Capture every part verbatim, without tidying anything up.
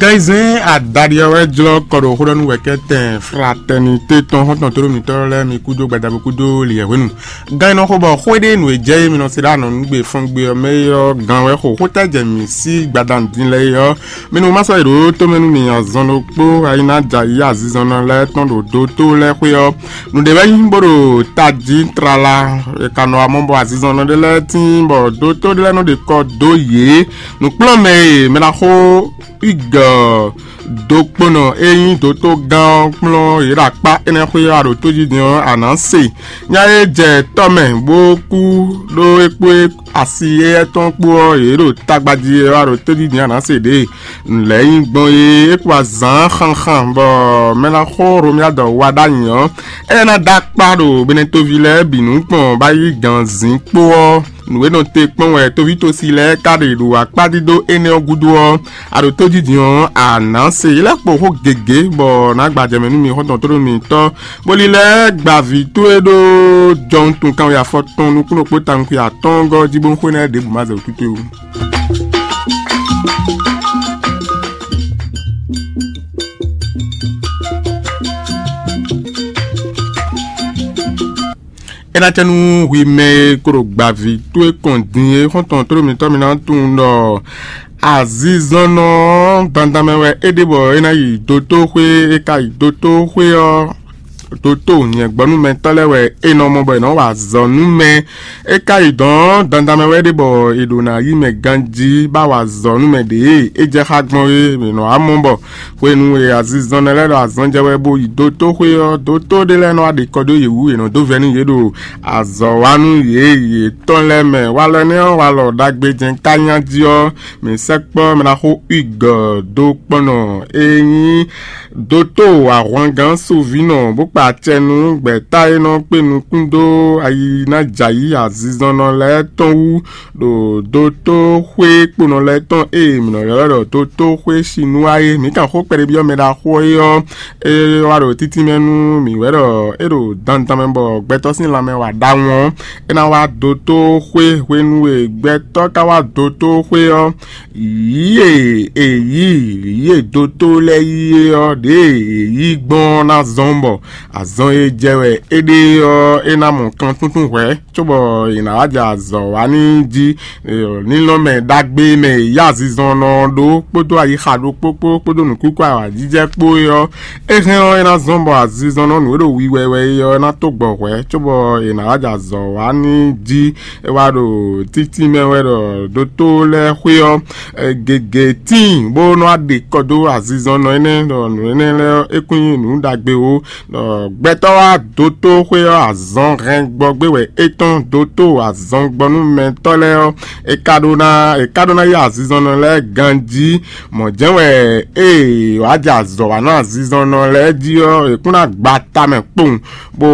Gɛnzɛn adaɖi ɔ́ wɛ jlɔ́ kɔ ɖo xóɖɔ́nú wɛ̌kɛ́tɛn Fraternité tɔn xɔ́ntɔn tóɖó mǐtɔn lɛ́ɛ mi kúdó gbadabo kúdó liyɛ̌hwenu. Gán e nɔ xo bɔ xwé ɖé nǔ e jɛ é mi nɔ se ɖó anɔ̌nugbe fɔ́ngbe ɔ́ mɛ é ɔ́, gán wɛ xo xótɛ́ jɛ mǐ sí gbadanu din lɛ́ɛ é ɔ́, mi nu ma sɔ́ yi ɖǒ tomɛ nú mi azɔn ɖokpó ayi ná jɛ ayǐ azizɔnnɔ lɛ́ɛ tɔn ɖo dotó lɛ́ɛ xwé ɔ́. Nǔɖé wɛ nyí bó ɖo tají tlala, è ka nɔ wá mɔ bɔ azizɔnnɔ ɖé lɛ́ɛ tíin bɔ dotó ɖé lɛ́ɛ nɔ ɖe kɔ dó yě. Nǔkplɔ́nmɛ e mɛ ná xo igɔ dokponɔ e nyí dotó gán ɔ́ kplɔ́n yě ɖo akpá énɛ́ xwé ɔ́, a ɖo tó jí din ɔ́, a nǎ se. Nya e jɛ tɔ́ mɛ bó kú ɖó é kpó asi éyɛ́ tɔn kpó ɔ́, yě ɖo tagba jí é wá ɖo tódídǐn anǎ se ɖě. Nǔ lɛ́ɛ nyí gbɔn é, é kpo azǎn xanxan bɔ mɛ ná xo Hlomyadɔ wa ɖ'ayǐ ɔ́, é ná dó akpá ɖo Benɛtoví lɛ́ɛ bǐ nukɔn bó yi ganzin kpó ɔ́, nǔ e nɔ te kpɔ́n wɛ tóvítosi lɛ́ɛ ka ɖe ɖo akpá dídó énɛ́ ɔ́ gúdo ɔ́, a ɖo tójijǐ ɔ́, a nǎ se. Yě lɛ́ kpo xó gěgé bɔ nǎ gbajɛ mɛ nú mi xɔ́ntɔn tóɖó mitɔn, bó lílɛ́ gba vǐ towe ɖó jɔwuntun kanwe afɔtɔn nukúnnú kpó tawun xwe atɔ́ɔ́ngɔ́ jí bó xwé nɛ́ ɖěbǔ ma zɛ wǔtútú ó. É ná cɛ nú hwi mɛ e ko ɖo gbaví towe kɔn din é xɔ́ntɔn tóɖó mitɔn mi ná tunwun ɖɔ azinzɔnnɔ ɔ́ dandan mɛ wɛ é ɖe bɔ é ná yi dotóxwé. É ka yi dotóxwé ɔ́, dotó nyɛ̌gbɔ́númɛtɔ́ lɛ́ɛ wɛ é nɔ mɔ bɔ è nɔ wa azɔ̌ nú mɛ. É ka yi dɔ̌n dandan mɛ wɛ é ɖe bɔ è ɖo ná yí mɛ ganjí bá wa azɔ̌ nú mɛ ɖě e é jɛ xá gbɔn é. È nɔ wá mɔ bɔ hwenu e azinzɔnnɔ lɛ́ɛ ɖo azɔn jɛ wɛ bó yi dotóxwé ɔ́, dotó ɖé lɛ́ɛ nɔ wá ɖe kɔ dó yě wú, è nɔ dó vɛ́ nú yě ɖo azɔ̌ wa nú yě yětɔn lɛ́ɛ mɛ. Walɔ énɛ́ ɔ́, walɔ ɖagbe jɛ́n ká nyá jí ɔ́, mǐ sɛkpɔ́ mɛ ná xo Hugues dó kpɔ́n nɔ e nyí dotó ahwangán Sovínɔ bó kpa acɛ nú gbɛ̌ta e nɔ kpé nukún dó ayi ná jɛ ayǐ azinzɔnnɔ lɛ́ɛ tɔn wú ɖo dotóxwé kponɔ lɛ́ɛ tɔn e mǐ nɔ ylɔ́ ɖɔ dotóxwé Sinúwa é. Mǐ kan xó kpɛɖébyɔ́ mɛ ɖaxó é ɔ́, é wá ɖo títí mɛ nú mǐ wɛ ɖɔ é ɖo dandan mɛ bɔ gbɛtɔ́ sín lanmɛ wa ɖawun ɔ́, é ná wá dotóxwé. Hwenu e gbɛtɔ́ ka wá dotóxwé ɔ́, yǐ e è yǐ yě dotó lɛ́ɛ yí é ɔ́, ɖěe è yí gbɔn ɔ́ ná zɔ́n bɔ azɔn e jɛ wɛ é ɖe ɔ́, é ná mɔ kan túntún hwɛ̌, cóbɔ è nǎ wá jɛ azɔ̌ wa n'i jí. Ninɔmɛ ɖagbe mɛ e yí azinzɔnnɔ ɔ́ ɖó kpódó ayixa ɖokpó kpó kpódó nǔkúkú awǎjijɛ kpó é ɔ́, é hɛn ɔ́, é ná zɔ́n bɔ azinzɔnnɔ nǔ e ɖo wiwɛ wɛ é ɔ́ ná tó gbɔ hwɛ̌, cóbɔ è nǎ wá jɛ azɔ̌ wa n'i jí. É wá ɖo títí mɛ wɛ ɖɔ dotó lɛ́ɛ xwé ɔ́, gěgé tíin bó nɔ́ wá ɖe kɔ dó azinzɔnnɔ énɛ́, ɖɔ nǔ énɛ́ lɛ́ɛ ɔ́, é kún nyí nǔ ɖagbe ó. Ɖɔ gbɛtɔ́ wá dotó xwé ɔ́, azɔn hɛn gbɔ gbé wɛ é tɔ́n dotó azɔngbɔnúmɛtɔ́ lɛ́ɛ ɔ́, é ka ɖó ná é ka ɖó ná yí azinzɔnnɔ lɛ́ɛ ganjí. Mɔ̌ jɛ́n wɛ ée wǎ jɛ azɔ̌ wa nú azinzɔnnɔ lɛ́ɛ jí ɔ́, è kún ná gba tamɛ kpowun, bó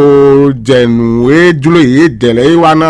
jɛ nǔ e jló yědɛɛ lɛ́ɛ yi wá ná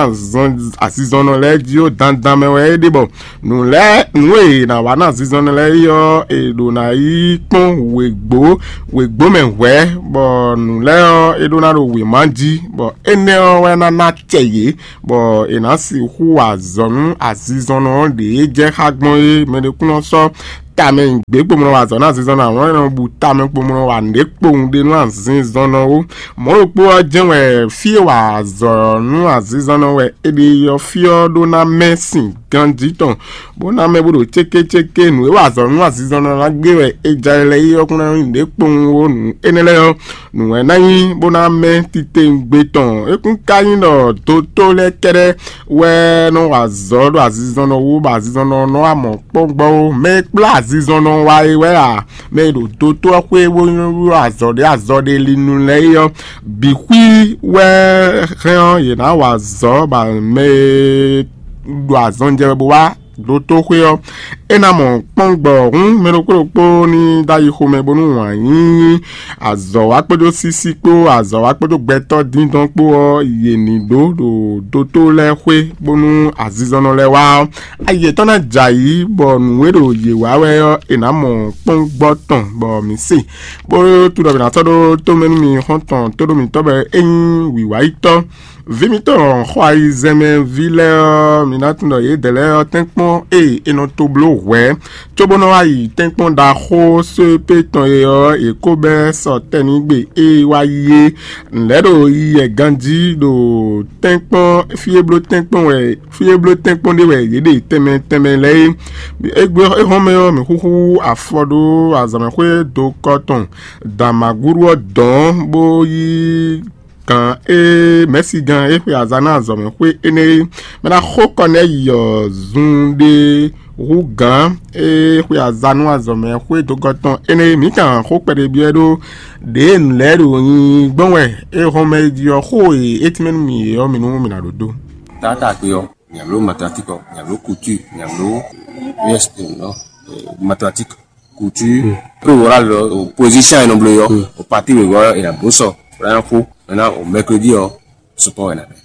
azinzɔnnɔ lɛ́ɛ jí ó. Dandan mɛ wɛ é ɖe bɔ nǔ lɛ́ɛ nǔ e è nǎ wa nú azinzɔnnɔ lɛ́ɛ é ɔ́, è ɖǒ ná yi kpɔ́n wěgbó wěgbó mɛ hwɛ̌, bɔ nǔ lɛ́ɛ ɔ́, é ɖó ná ɖo wěma jí, bɔ énɛ́ ɔ́ wɛ ná ná acɛ yě, bɔ è nǎ sixú wa azɔ̌ nú azinzɔnnɔ ɔ́ ɖě jɛ xá gbɔn é. Mɛ ɖé kún nɔ sɔ́ tamɛ nyi gbě kpomlɔ wa azɔ̌ nú azinzɔnnɔ, amɔ̌ é nɔ bu tamɛ kpomlɔ wa nǔɖé kpowun ɖe nú azinzɔnnɔ ó. Mɔ̌ ɖokpó ɔ́ jɛ́n wɛ fí e wa azɔ̌ nú azinzɔnnɔ wɛ è ɖe yi ɔ́, fí ɔ́ ɖó ná mɛ sin ganjí tɔn, bó ná mɛ bó ɖo cékécéké. Nǔ e wa azɔ̌ nú azinzɔnnɔ ná gbé wɛ è ja ɛ lɛ́ɛ yi ɔ́ kún ná nyí nǔɖé kpowun ó. Nǔ énɛ́ lɛ́ɛ ɔ́, nǔ wɛ ná nyí bó ná mɛ titewungbe tɔn. É kún ka nyí ɖɔ dotó lɛ́ɛ kɛ́ɖɛ́ wɛ nɔ wa azɔ̌ ɖo azinzɔnnɔ wú, bɔ azinzɔnnɔ nɔ wa mɔ̌ kpɔ́n gbɔ ó. Mɛ e kplá azinzɔnnɔ wa é wɛ a? Mɛ e ɖo dotó ɔ́ xwé bó nɔ ɖó azɔ̌ ɖé azɔ̌ ɖé linu lɛ́ɛ é ɔ́, bǐ xwí wɛ hɛn ɔ́, yě ná wa azɔ̌, bɔ mɛ e ɖo azɔn jɛ wɛ bó wá dotó xwé ɔ́, é ná mɔ kpɔ́n gbɔ. Hǔn mɛ ɖokpó ɖokpó ní dó ayi xomɛ bónú wǎn yíyí, azɔ̌ wa kpódó sísí kpó, azɔ̌ wa kpódó gbɛtɔ́ díndɔn kpó ɔ́, yě ní ɖó ɖo dotó lɛ́ɛ xwé bónú azinzɔnnɔ lɛ́ɛ wá ɔ́, ayi yětɔn ná jɛ ayǐ, bɔ nǔ e ɖo yě wa wɛ ɔ́, è nǎ mɔ kpɔ́n gbɔ tɔn, bɔ mǐ se. Bó tunɖɔbǐ ná sɔ́ ɖó tómɛ nú mi xɔ́ntɔn tóɖó mǐtɔn bɔ é nyí wǐwáyítɔ́, Vǐ mitɔn xɔ ayizɛ́nmɛví lɛ́ɛ ɔ́, mi ná tunwun ɖɔ yědɛɛ lɛ́ɛ ɔ́, tɛ́nkpɔ́n e è nɔ to bló hwɛ̌ cóbó nɔ wá yi tɛ́nkpɔ́n ɖaxó sóepé tɔn e ɔ́, è ko bɛ́ sɔ tɛ́nigbe e wá yi é. Nǔ lɛ́ɛ ɖo yiyi wɛ ganjí ɖo tɛ́nkpɔ́n fí e bló tɛ́nkpɔ́n wɛ fí e bló tɛ́nkpɔ́n ɖé wɛ yě ɖe tɛnmɛ tɛnmɛ lɛ́ɛ é. Égbé éhɔ́nmɛ ɔ́, mǐ xúxú afɔ ɖó azɔ̌mɛxwé dokɔ tɔn Damagúɖu ɔ́ dɔ̌n bó yí gǎn e mɛ̌sigán e xwe aza nú azɔ̌mɛxwé énɛ́ é. Mɛ ná xó kɔ nú ɛ yi ɔ́ zun ɖé hú gǎn e xwe aza nú azɔ̌mɛxwé dokɔ tɔn énɛ́ é. Mǐ kan xó kpɛɖé byɔ́ ɛ ɖó ɖěe nǔ lɛ́ɛ ɖo nyi gbɔn wɛ é hɔn mɛ jí ɔ́, xó e é tínmɛ nú mì é ɔ́, mi nú mì nǎ ɖó dó. Taátagbe ɔ́, nya ló mathématique ɔ́, nya ló couture, nya ló, yes, non, mathématique, couture, pré wòlá lɔ, position e nɔ bló yɔ, o parti wěwé ɔ́, è nǎ bló sɔ, bó ná fó, maintenant o mercredi ɔ́, sport wɛ nǎ bɛ,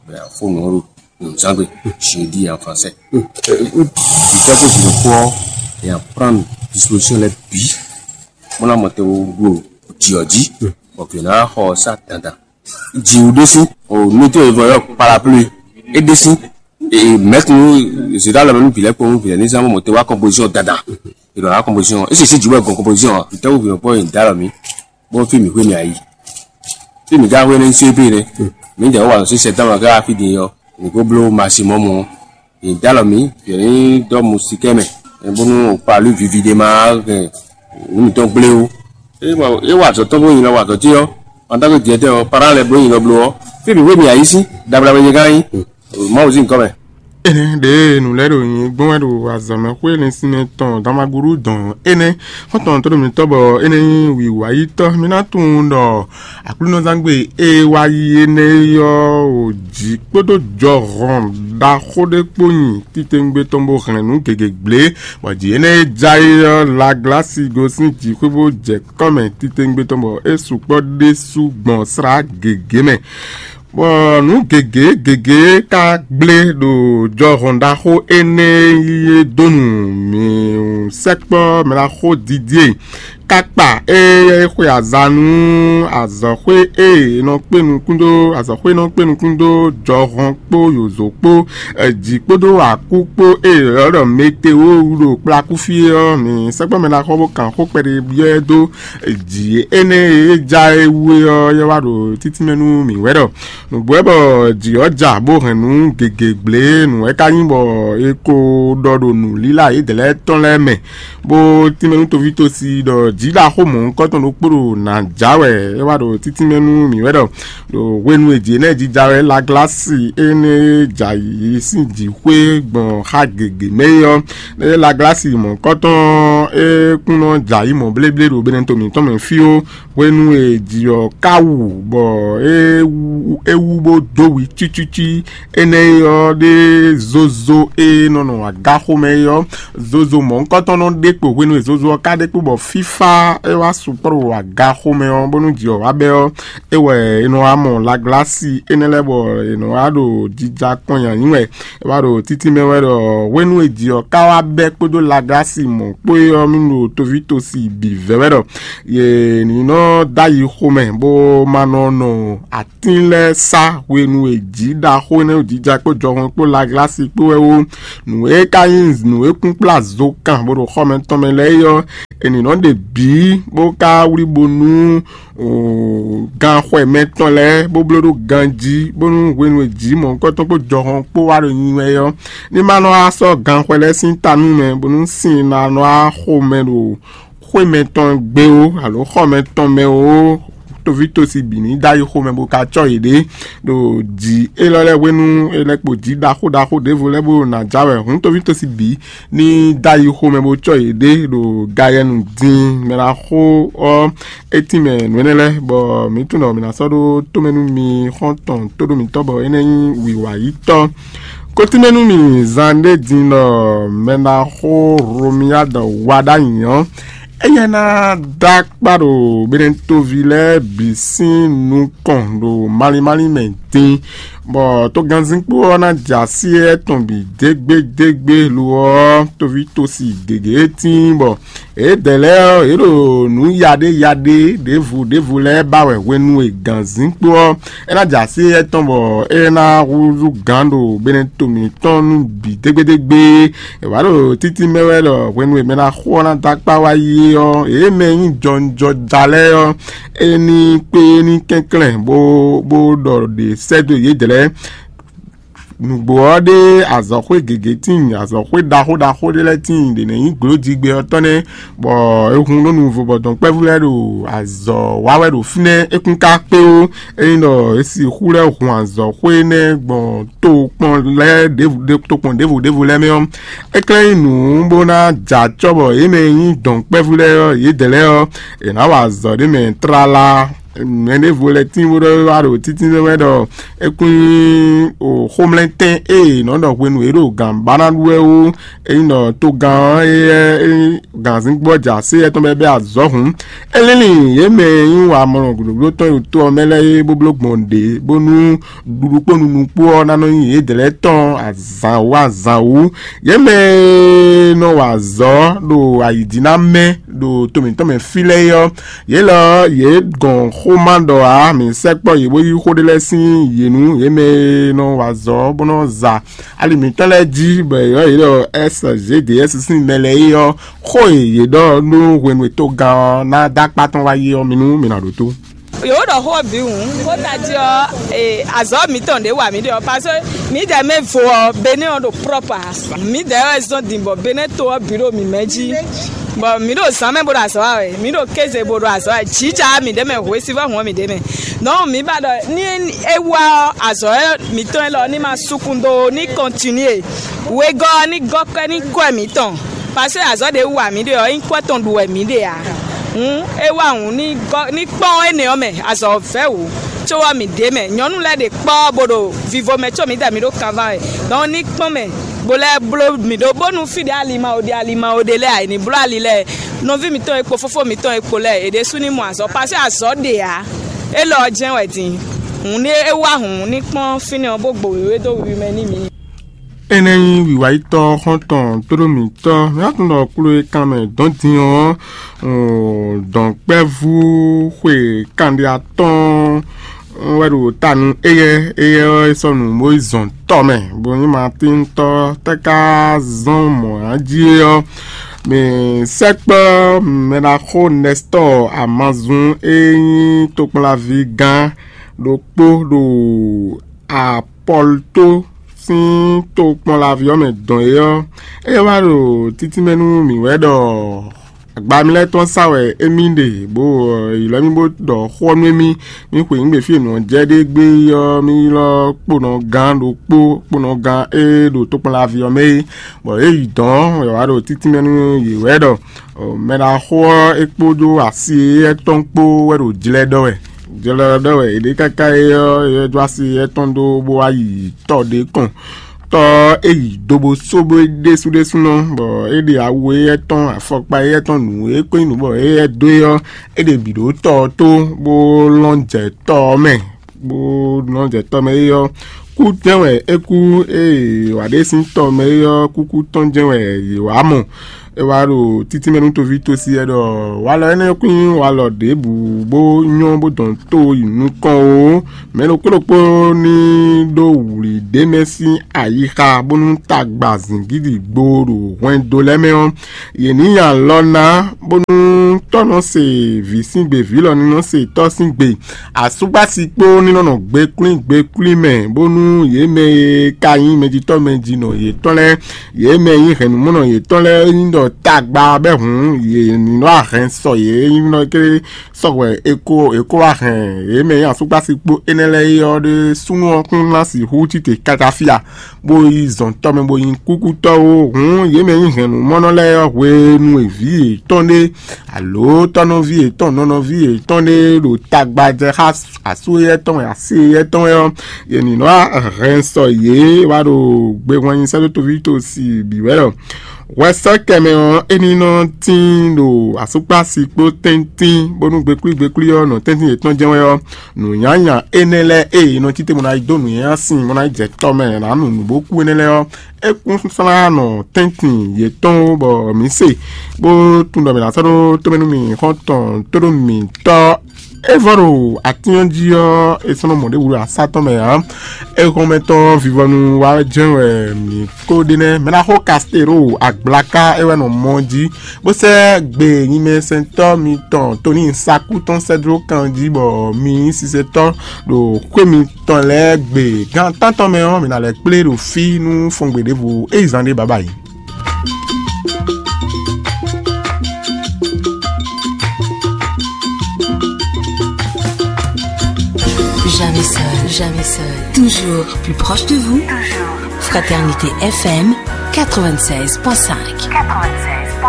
bɛ a fó nǔ ɔ́ ɖo nǔzangbe, jeudi en français. Vǐtɔ́ kó vǐ ɖokpó ɔ́, è nǎ prendre disposition lɛ́ɛ bǐ, bó ná mɔ te wo ɖo jǐ ɔ́ jí, bɔ vǐ ɔ́ ná xɔ sá dandan. Jǐwú ɖésú, o nutó e vɔ yɔ parapluie, é ɖésú, e mɛ̌kun zǐɖá lɔ mɛ nú vǐ lɛ́ɛ kpó nú vǐ lɛ́ɛ ní zán bó mɔ te wá kɔnpozíɔn dandan. È ɖɔ wá kɔnpozíɔn, é sisí jǐ wɛ gɔn kɔnpozíɔn ǎ. Vǐtɛ́wú vǐ nɔ kpɔ́ nyi dǎ lɔ mǐ, bó fí mǐ xwé mì ayǐ. Fí mǐ ka xwé ní só ébé nɛ́. Mǐ jɛ wó wa nɔ sí sɛtánmɛ ká fí din ɔ́, mǐ kó bló maximɔ́mu ɔ́. Yě dó alɔ mǐ, yě ní dɔ́ musikɛ́ mɛ, bónú o pa lú vivi ɖé ma hɛn nǔ mǐtɔn gblé ó. É wa é wa azɔ̌ tɔn bó nyi lɔ wa azɔ̌ ce ɔ́, en tant que directeur ɔ́, parent lɛ́ɛ bló nyi lɔ bló ɔ́, fí mǐ wé mì ayí sín, dabla wɛ nyɛ gán nyí. Mawu sín nyǐkɔ mɛ. Énɛ́ ɖě nǔ lɛ́ɛ ɖo nyi gbɔn wɛ ɖo azɔ̌mɛxwé lɛ́nsinmɛ tɔn Damagúɖu dɔn énɛ́. Xɔ́ntɔn tó ɖo mǐtɔn bɔ énɛ́ nyí wǐwáyítɔ́. Mi ná tunwun ɖɔ Aklúnɔzángbé e wá yi énɛ́ ɔ́, o jǐ kpódó jɔhɔn ɖaxó ɖé kpó nyi titewungbe tɔn bó hɛn nǔ gěgé gblé, bɔ jǐ énɛ́ e ja é ɔ́, Laglási gosín jǐxwé bó jɛ kɔ́ mɛ titewungbe tɔn, bɔ é sukpɔ́ ɖésú gbɔn slá gěgé mɛ. Bɔ nǔ gěgé gěgé ka gblé ɖo jɔhɔn ɖaxó énɛ́ e yí é dó nu mǐ sɛkpɔ́ mɛ ɖaxó Didie. Kákpa e é xwe aza nú azɔ̌xwé e è nɔ kpé nukún dó azɔ̌xwé e nɔ kpé nukún dó jɔhɔn kpó yǒzo kpó, jǐ kpódó akú kpó e è ylɔ́ ɖɔ meteo ɖo kplakúfí é ɔ́, mǐ sɛkpɔ́ mɛ ɖaxó bó kan xó kpɛɖé byɔ́ ɛ dó jǐ énɛ́ e é ja é wú é ɔ́, é wá ɖo títínmɛ nú mǐ wɛ ɖɔ nǔgbó wɛ bɔ jǐ ɔ́ ja bó hɛn nǔ gěgé gblé. Nǔ wɛ ka nyí bɔ è ko ɖɔ ɖo nǔlílá yědɛɛ lɛ́ɛ tɔn lɛ́ɛ mɛ, bó tínmɛ nú toví tosi ɖɔ jǐ ɖaxó mɔ̌hunkɔtɔn ɖokpó ɖo nǎ ja wɛ é wá ɖo títínmɛ nú mǐ wɛ ɖɔ ɖo hwenu e jǐ énɛ́ jija wɛ Laglási énɛ́ e ja yǐ sín jǐxwé gbɔn xá gěgé mɛ é ɔ́, ée Laglási mɔ̌hunkɔtɔn é kún nɔ ja yǐ mɔ̌ bléblé ɖo Benɛto mǐtɔn mɛ fí ó. Hwenu e jǐ ɔ́ ka wú bɔ é wú é wú bó dó wi cícící énɛ́ é ɔ́ ɖé zozo e nɔ nɔ agaxomɛ é ɔ́, zozo mɔ̌hunkɔtɔn nɔ ɖe kpo. Hwenu e zozo ɔ́ ka ɖe kpo bɔ fífá é wá sukpɔ́ ɖo agaxomɛ ɔ́, bónú jǐ ɔ́ wá bɛ́ ɔ́, é wɛ è nɔ wá mɔ Laglási énɛ́ lɛ́ɛ bɔ è nɔ wá ɖo jija kpɔ́n nyi ayǐ wɛ. É wá ɖo títí mɛ wɛ ɖɔ hwenu e jǐ ɔ́ ka wá bɛ́ kpódó Laglási mɔ̌ kpó é ɔ́, mì ɖo toví tosi bǐ vɛ́ wɛ ɖɔ yě ní nɔ dó ayi xomɛ bó ma nɔ nɔ atín lɛ́ɛ sá hwenu e jǐ ɖaxó énɛ́ jija kpó jɔhɔn kpó Laglási kpó wɛ ó. Nǔ e ka nyí nǔ e kún kplá zo kan bó ɖo xɔmɛ tɔn mɛ lɛ́ɛ é ɔ́, è nǐ nɔ ɖe bǐ bó ka wlí bónú ganxɔmɛ tɔn lɛ́ɛ bó bló ɖó ganjí, bónú hwenu e jǐ mɔ̌hunkɔtɔn kpó jɔhɔn kpó wá ɖo nyi wɛ ɔ́, ní ma nɔ wá sɔ́ ganxɔ lɛ́ɛ sín ta nú mɛ, bónú sin ná nɔ wá xo mɛ ɖo xwé mɛtɔn gbé ó, alo xɔ mɛtɔn mɛ ó. Toví tosi bǐ ní dó ayi xomɛ bó ka cɔ́ yěɖée ɖo jǐ élɔ́ lɛ́ɛ hwenu, é lɛ́ kpo jǐ ɖaxó ɖaxó ɖěvo lɛ́ɛ bó ná já wɛ hǔn toví tosi bǐ ní dó ayi xomɛ bó cɔ́ yěɖée ɖo gayɛnu dín mɛ ná xó ɔ́. É tínmɛ nǔ énɛ́ lɛ́ɛ, bɔ mǐ tunwun ɖɔ mǐ ná sɔ́ ɖó tomɛ nú mi xɔ́ntɔn tóɖó mǐtɔn, bɔ énɛ́ nyí wǐwayítɔ́. Kó tínmɛ nú mi zan ɖé din ɖɔ mɛ ná xó Hlomia ɖɔ wa ɖ'ayǐ ɔ́, éyɛ́ ná dó akpá ɖo Benɛtoví lɛ́ɛ bǐ sín nukɔn ɖo malín málín mɛ din. Bɔ togannzínkpo ɔ́ ná jɛ así étɔn bǐ dégbédégbé lo ɔ́, toví tosi gěgé tíin bɔ yědɛɛ lɛ́ɛ ɔ́, yě ɖo nǔ yaɖé yaɖé ɖěvo ɖěvo lɛ́ɛ ba wɛ hwenu e gǎnzínkpo ɔ́ é ná jɛ así étɔn bɔ é ná húzú gǎn ɖo beneto mǐtɔn nú bǐ dégbédégbé. È wǎ ɖo títí mɛ wɛ ɖɔ hwenu e mɛ ná xo ɔ́ ná dó akpá wá yi é ɔ́, yě mɛ e nyí jɔnjɔja lɛ́ɛ ɔ́, é ní kpé é ní kɛnklɛ́n bó bó ɖɔ ɖě sɛ́ dó yědɛɛ lɛ́ɛ. Nǔgbó ɔ́ ɖe azɔ̌xwé gěgé tíin, azɔ̌xwé ɖaxó ɖaxó ɖé lɛ́ɛ tíin ɖě nɛ́ nyí glǒjigbe ɔ́ tɔn nɛ́, bɔ è hun ɖó nuvo bɔ dɔ̌nkpɛ́vú lɛ́ɛ ɖo azɔ̌ wa wɛ ɖo fínɛ́. É kún ka kpé ó, ényí ɖɔ è sixú lɛ́ hun azɔ̌xwé énɛ́ gbɔn tokpɔn lɛ́ɛ ɖěvo tokpɔn ɖěvo ɖěvo lɛ́ɛ mɛ ɔ́, é klɛ́ nyí nǔ bó ná jɛ acɔ́ bɔ yě mɛ e nyí dɔ̌nkpɛ́vú lɛ́ɛ ɔ́, yědɛɛ lɛ́ɛ ɔ́, è nǎ wa azɔ̌ ɖé mɛ tlala. Mɛ ɖěvo lɛ́ɛ tín bó ɖɔ wá ɖo títí wɛ ɖɔ é kún nyí xomlɛ́ntɛn e è nɔ ɖɔ hwenu e ɖo gǎn ba ná ɖu wɛ ó. Ényí ɖɔ togán ɔ́, é gǎnzínkpo ɔ́ jɛ así étɔn bɔ é bɛ́ azɔ̌ hǔn, é línlin yě mɛ e nyí wamɔnɔ gǔɖógúɖó tɔn e ɖo to ɔ́ mɛ lɛ́ɛ é bó bló gbɔn ɖě, bónú ɖuɖu kpó nunu kpó ɔ́ ná nɔ nyí yědɛɛ lɛ́ɛ tɔn azǎn wú azǎn wú. Yě mɛ e nɔ wa azɔ̌ ɖo ayǐjínamɛ ɖo to mǐtɔn mɛ fí lɛ́ɛ é ɔ́, yě lɔ ɔ́, yě gɔn xó ma ɖɔ ǎ; mǐ sɛkpɔ́ yě bó yí xó ɖé lɛ́ɛ sín yě nú yě mɛ e nɔ wa azɔ̌ bó nɔ za ali mǐtɔn lɛ́ɛ jí, bɔ è ylɔ́ yě ɖɔ S G D S sín mɛ lɛ́ɛ é ɔ́, xó e yě ɖɔ nú hwenu e togán ɔ́ ná dó akpá tɔn wá yi ɔ́, mi nú mi nɔ ɖótó. Yǒ ɖɔ xó ɔ́ bǐ hǔn, xó tají ɔ́, azɔ̌ mǐtɔn ɖě wa mǐ ɖe ɔ́, parce que mǐdɛɛ mɛ vo ɔ́, Benɛ́ ɔ́ ɖo prɔ́pɔ ǎ. Mǐdɛɛ wɛ zɔ́n din bɔ Benɛ́ to ɔ́ bǐ ɖo mǐ mɛ jí. Bɔ mǐ ɖo zǎn mɛ bó ɖo azɔ̌ wa wɛ, mǐ ɖo kéze bó ɖo azɔ̌ wa wɛ, jǐ ja mǐɖée mɛ, hwesivɔ́ hɔn mǐɖée mɛ. Donc mǐ ba ɖɔ ní é wá ɔ́, azɔ̌ mǐtɔn élɔ́ ní ma sukun dó ní kɔntinué. Wegɔ́ ɔ́ ní gɔ́ kɔ́ ní kɔ́ mǐtɔn, parce que azɔ̌ ɖě wa mǐ ɖe ɔ́, nyí kɔ́ tɔn ɖu wɛ mǐ ɖe ǎ. Hǔn é wá hǔn ní gɔ́ ní kpɔ́n énɛ́ ɔ́ mɛ, azɔ̌ vɛ́ wǒ, có ɔ́ mǐ ɖě mɛ. Nyɔ̌nu lɛ́ɛ ɖe kpɔ́ bó ɖo vivo mɛ, có mǐdɛɛ mǐ ɖo kanván wɛ. Donc ní kpɔ́n mɛ, bó lɛ́ bló mǐ ɖó bónú fí ɖě ali ma wo ɖe ali ma wo ɖe lɛ́ɛ ǎ, è nǐ bló ali lɛ́ɛ. Nɔví mǐtɔn e kpo fófó mǐtɔn e kpo lɛ́ɛ, è ɖésú ní mɔ azɔ̌, pasé azɔ̌ ɖe ǎ. Élɔ́ ɔ́ jɛ́n wɛ din. Hǔn ní é wá hǔn ní kpɔ́n fínɛ́ ɔ́ bó gbo wěwé dó wiwi mɛ n'i mǐ. Énɛ́ nyí wǐwáyítɔ́ xɔ́ntɔn tlóló mǐtɔn. Mǐ wá tunwun ɖɔ kplo e kan mɛ dɔ̌n din ɔ́, dɔ̌nkpɛ́vú xwe kanɖé atɔ́ɔ́n wɛ ɖo ta nú éyɛ́. Éyɛ́ ɔ́, é sɔ́ nǔ bó yi zɔn tɔ mɛ, bó nyí Matíntɔ́ tɛ́ ká zɔ́n mɔ̌ ná jí é ɔ́, mǐ sɛkpɔ́ mɛɖaxó Nɛstɔ́ɔ Amazun e nyí tokpɔnlaví gán ɖokpó ɖo Apɔlto sín tokpɔnlaví ɔ́ mɛ dɔn é ɔ́, é wá ɖo títí mɛ nú mǐ wɛ ɖɔ agba mì lɛ́ɛ tɔn sa wɛ émí ɖe, bó ylɔ́ mì bó ɖɔ xó ɔ́ nú émí. Mì xweyǐgbe fí e nǔ ɔ́ jɛ ɖe gbé ɔ́, mì ylɔ́ kponɔgán ɖokpó, kponɔgán e ɖo tokpɔnlaví ɔ́ mɛ é, bɔ é yi dɔ̌n wɛ wá ɖo títí mɛ nú yě wɛ ɖɔ mɛɖaxó ɔ́ é kpódó asi éyɛ́ tɔn kpó wɛ ɖo jlɛ́ ɖɔ wɛ. Jlɛ́ ɖɔ wɛ è ɖe káká é ɔ́, é dó asi éyɛ́ tɔn dó bó wá yi tɔ ɖé kɔn. Tɔ ɔ́, é yi do bó sóbó é ɖésú ɖésúnɔ, bɔ é ɖe awu éyɛ́ tɔn, afɔkpa éyɛ́ tɔn, nǔ e kó nyí nǔ bɔ éyɛ́ dó é ɔ́, é ɖe bǐ ɖó tɔ ɔ́ tó, bó lɔn jɛ tɔ ɔ́ mɛ, bó lɔn jɛ tɔ mɛ é ɔ́, kú tɛ́n wɛ é kú. Ée wǎ ɖé sín tɔ mɛ é ɔ́, kúkú tɔn jɛ́n wɛ yě wá mɔ. É wá ɖo títí mɛ nú toví tosi wɛ ɖɔ walɔ énɛ́ kún nyí walɔ ɖěbǔ bó nyɔ́ bó dɔn tó yi nukɔn ó. Mɛ ɖokpó ɖokpó ní ɖó wlǐ ɖé mɛ sín ayixa bónú tagba zǐngídi gbo ɖo hwɛndo lɛ́ɛ mɛ ɔ́, yě ní nyi alɔ ná, bónú tɔ́ nɔ se vǐ sín gbe, vǐ lɔ ní nɔ se tɔ́ sín gbe. Asúgbási kpó ní nɔ nɔ gbekwlín gbekwlín mɛ, bónú yě mɛ e ka nyí mɛjitɔ́ mɛjinɔ yětɔn lɛ́ɛ, yě mɛ e nyí hɛ̌nnumɔnɔ yětɔn lɛ́ɛ nyí ɖɔ tagba bɛ́ hǔn, yě ní nɔ ahɛn sɔ yě nyí nɔ kéré sɔgbe è ko è ko wá hɛn yě mɛ e nyí asúgbási kpó énɛ́ lɛ́ɛ é ɔ́ ɖé súnnu ɔ́ kún ná sixú cí te káká fí a, bó yi zɔn tɔ́ mɛ bó nyi kúkútɔ́ ó. Hǔn yě mɛ e nyí hɛ̌nnumɔnɔ lɛ́ɛ ɔ́, hwenu e vǐ yětɔn ɖé alo tɔ́nɔví yětɔn, nɔnɔví yětɔn ɖé ɖo tagba jɛ xá asú éyɛ́ tɔn wɛ, así éyɛ́ tɔn wɛ ɔ́, yě ní nɔ hɛn sɔ yě wá ɖo gbehwan nyi sɛ́ dó toví tosi bǐ wɛ ɔ́. Wɛsɛ́kɛ mɛ ɔ́, é ní nɔ tín ɖo asúkpási kpó tɛ́ntín, bónú gbeklwí gbeklwí ɔ́ nɔ tɛ́ntín yětɔn jɛ́n wɛ ɔ́, nǔnyanya énɛ́ lɛ́ɛ e è nɔ cí te mɔ ná yi dó nǔnywɛ́nywɛ́ sin bó ná yi jɛ tɔ mɛ ná nu nǔ bó kú énɛ́ lɛ́ɛ ɔ́, é kún slán nɔ tɛ́ntin yětɔn ó, bɔ mǐ se bó tunwun ɖɔ mǐ ná sɔ́ ɖó tómɛ nú mì xɔ́ntɔn tóɖó mǐtɔn. É vɔ ɖo atín ɔ́ jí ɔ́, è sɔ́ nɔ mɔ ɖěbǔ ɖo asá tɔn mɛ ǎ. Éhɔ́nmɛtɔn vivɔnu wa jɛ́n wɛ mǐ ko ɖe nɛ́. Mɛ ná xo Kastero agblaka é wɛ nɔ mɔ jí, bó sɛ́ gbe nyimɛsɛntɔ́ mitɔn Toni Saku tɔn sɛ́ dó kan jí, bɔ mi nyí sinsɛntɔ́ ɖo xwé mitɔn lɛ́ɛ gbe. Gan tántɔn mɛ ɔ́, mǐ ná lɛ́ kplé ɖo fí nú fɔngbe ɖěvo é yi zán ɖé baba yi. Jamais seul, jamais seul. Toujours plus proche de vous. Fraternité F M quatre-vingt-seize point cinq.